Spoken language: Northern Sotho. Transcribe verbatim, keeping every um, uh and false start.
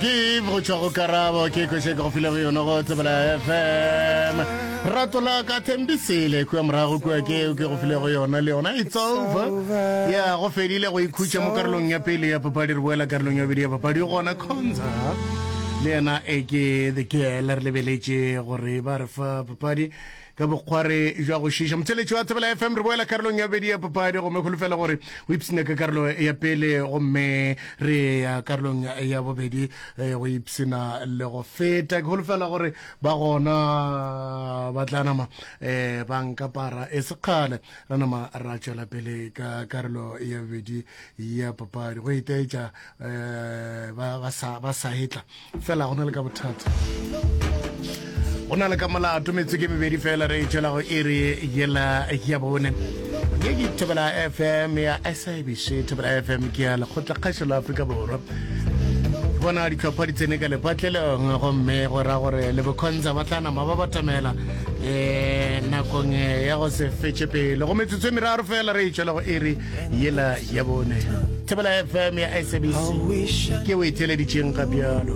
Forgive go tšwa go Karabo, ke koše ke go file go yona go Tsebela F M. Rato la ka Thembisele kua morago kua ke ke go file go yona le yona It's Over. Ya go fedile go ikhutša mo karolong ya pele ya papadi, re boela karolong ya bobedi ya papadi gona Khonza le yena e ke the girl, re lebeletše gore ba re fa papadi ka bokgware jwa go šiša. Motheletši wa Thobela F M, re boela karolong ya bobedi ya papadi gomme kholofela gore o ipsene ka karolo ya pele, gomme re ya karolong ya bobedi eh, go ipsena le go feta. Ke holofela gore ba gona ba tla nama um ba nkapara e sekgale ra nama ra tšwela pele ka karolo ya bobedi ya papadi go itaetša um ba ba sa ba sa etla fela. Go na le ka bothata, go na le ka molato. Metsotso ke mebedi fela re tšwela go iri yela ya bone. Ye ke Thobela F M ya S A B C. Thobela F M ke ya Lekgotlakgašo la Afrika Borwa. Ke bona ditlhopha di tsene ka lepatlelong, gomme go ra gore le bokhonza ba tla nama ba batamela um nakong ya go se fetše pele. Go metsotso e meraro fela re tšwela go iri yela ya bone. Thobela F M ya S A B C ke o e theleditšeng ga bjalo.